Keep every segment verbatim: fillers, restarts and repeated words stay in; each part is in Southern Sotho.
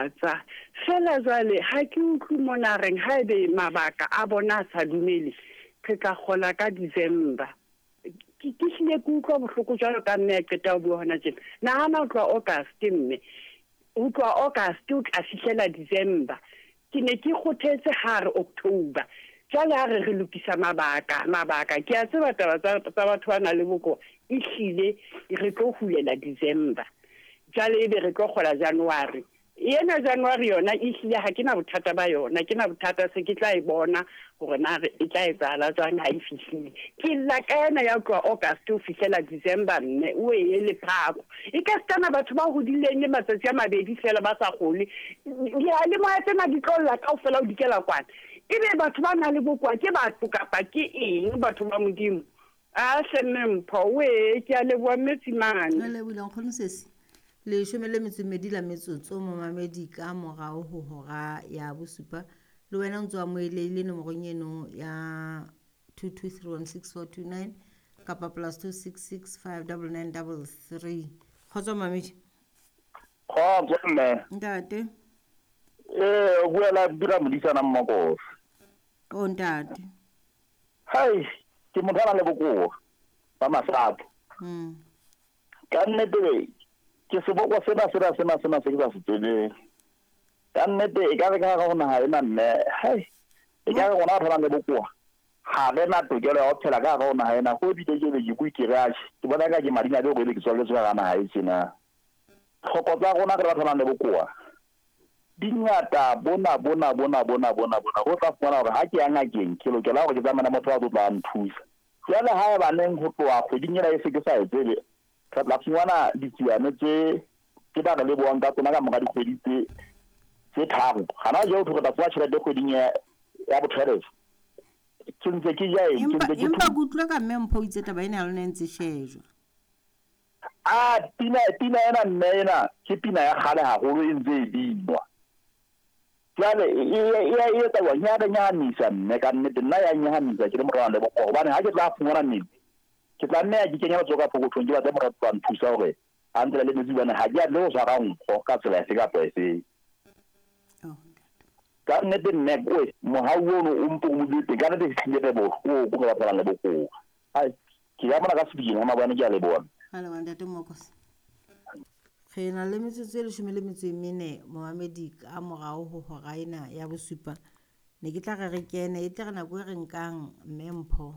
Tsa fela jwale ha ke utlwe mona reng haebe mabaka a bona a sa dumele, re tla kgola ka December. Ke ke hlile ke utlwa bohloko jwalo ka mme a qeta ho bua hona tjena. Nahana ho tloha August mme, ho tloha August o tla fihlela December. Ke ne ke kgothetse ha re October. Jwale ha re re lokisa mabaka, mabaka. Ke a tseba taba tsa tsa batho ba nang le bokowa, ehlile re tlo hulela December. Jwale ebe re tlo kgola January. Ena January yona ehlile ha ke na bothata ba yona, ke na bothata se ke tla e bona hore na re e tla etsahala jwang ha e fihlile. Ke lla ka ena ya ho tloha August ho fihlela December mme o ee le phako. E ka sitana batho ba hodileng le matsatsi a mabedi feela ba sa kgole. Diyalemoya tsena di tlo lla kaofela ho dikela kwana. Ebe batho ba nang le bokowa ke batho kapa ke eng batho ba Modimo? Ah hle mme Mpho wee ke a leboha mme Tsimane. Re lebohile nkgono sesi. Leshome le metso e mmedi la metsotso momamedi ka morao ho hora ya bosupa. Le wena o ntso amohelehile nomorong eno ya two two three one six four two nine kapa plus two six six five double nine double three. Kgotso mamedi. Kgotso mme. Ntate. Eh, o bua la dira modisana Mmakose. O ntate. Hai, ke motho a nang le bokowa ba masapo. Mm. Ka nnete ke seboko sena sena sena sena se ke sa se tsebeng. Ka nnete e ka re ka hare ho naha ena mme, hai, e ka re rona batho ba nang le bokowa ha re na tokelo ya ho phela ka hare ho naha ena. Ho ebile ke be ke bue ke re atjhe, ke bona eka ke madimabe hore ebe ke tswaletswe ka hara naha e tjena. Tlhoko tsa rona re batho ba nang le bokowa di ngata bona bona bona bona bona bona. Ho tla fumana hore ha ke ya ngakeng ke lokela hore ke tsamaye le motho a tlo tla nthusa. Jwale ha eba neng ho tloha kgweding ena e se ke sa e tsebe, re tla fumana ditsiane tse ke ba re lebohang ka tsona ka mora dikgwedi tse tse tharo. Hana jwale ho thwe re tla fuwa tjhelete kgweding ya ya bo-twelve. Ke ntse ke ja eng? Ke Empa ntse ke empa thu- ke utlwa ka mme Mpho o itse taba ena ya lona e ntse shejwa. Ah, pina pina ena mme ena ke pina ya kgale haholo e ntse e binwa. Jwale e e e e etsa jwang? Ya re nyahamisa mme ka nnete nna ya nyahamisa ke le motho a nang le bokowa. Hobane ha ke tla fumana metsi, ke tla nne ya ke kenya letsoho ka pokothong ke batle motho a tla nthusa hore a ntsela le metsi hobane ha ke a tle ho tshwara nkgo ka tsela efe kapa efe. Oh, ntate. Ka nnete mme oe mohau ono o mpo o modile teng ka nnete ke hlile re bohloko re batho ba nang le bokowa. Hai, ke ya mona ka sebini ha mabane ke a leboha. Ra leboha ntate Mokose. Re na le metsotso e leshome le metso e mene momamedi ka morao ho hora ena ya bosupa. Ne ke tla re re kene e tle re nako e re nkang mme Mpho.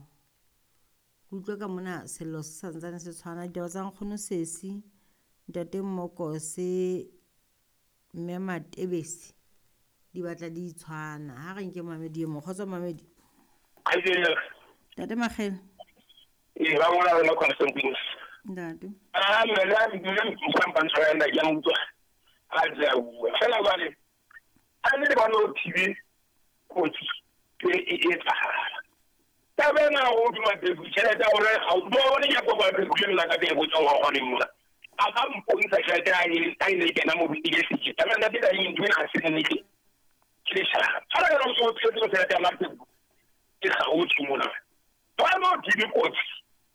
Ke utlwe ka mona sello se santsane se tshwana ditaba tsa nkgono sesi, ntate Mokose, mme Matebesi di batla di tshwana. Ha re nke momamedi e mong. Kgotso momamedi. Kgaitsedi. Ntate Makgele. Ee, ba ngola wena Constantine. Ntate. Ah, mme le mme mpampantsho ya nna ke a utlwa. Ha ntse a bua. Fela jwale, ha ne le bona o thibe kotsi e e etsahala. Taba ena ho duma Mabebu, tjhelete ya hore ha o bone ke kopa Mabebu le nna ka teng ho tswa ho kgoneng mona. A ka mpontsha tjhelete ha e ha e ne e kena mo ke se. Taba ena taba e ntho ena ha se nnete. Ke leshano. Fela ke re o tshwetse tjhelete ya Mabebu. Ke kgaotswe mona. Ba no thibe kotsi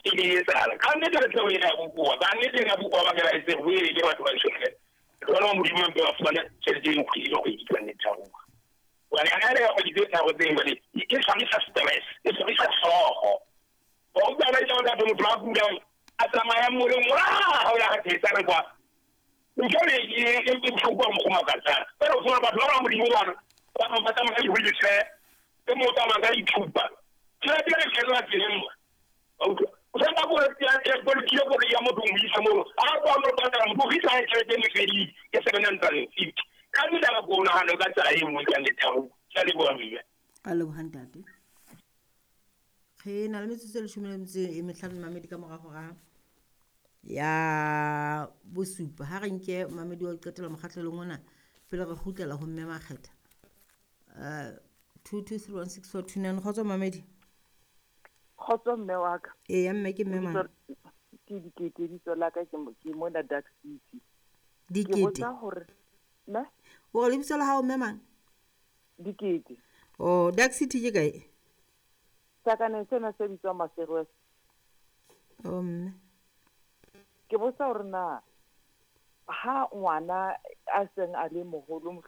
e ne e etsahala. Ka nnete re tlo e ya bokowa. Ba nnete ya bokowa ba ke ba etse ho e ke batho ba tjhelete. Jwale wa Modimo mpe ba fumane tjhelete e kgwedi le kgwedi ka nnete ya rona. Hobane ha re ya kgwedi tse tharo tse jwale, e tshwarisa stress, e tshwarisa hlooho. Wa utlwa ba itse hore motho a kulang, a tsamaya moleng, wa, o ya thetsa re kwa. Ntho e e e e bohloko ha mokgwa o makatsang. Fela o fumana batho ba bang Modimo bana, ba bang ba tsamaya ka di-wheelchair, e mong o tsamaya ka dithupa. Tjhelete e kgellwa tseleng mona. Wa utlwa? O sa nka koloi ya- ya koloi ya koloi ya motho o mo isa moo. Ha o mo patala, motho o fihla tjhelete e mefedile, ke seven hundred and fifty. Ka nnete ha ko nahane ka tsela e nngwe ka nnete ya ho. Ke a leboha mme. Ka leboha ntate. Re na le metsotso e leshome le metso e mehlano mamedi ka mora hora ya bosupa. Ha re nke mamedi wa ho qetela mokgahlelong ona pele re kgutlela ho mme Makgetha. Uh, two two three one six four two nine. Kgotso mamedi. Kgotso mme wa ka. Eya mme ke mme mang? Ke Dikete, lebitso la ka ke mo-, ke mona Dark City. Ke Dikete. botsa hore, ne? O re lebitso la hao mme mang? Dikete. Oh, Dark City ke kae? Sakaneng sena se bitswang Maseru West. Oh mme. Ke botsa hore na Ha ngwana a seng a le moholo.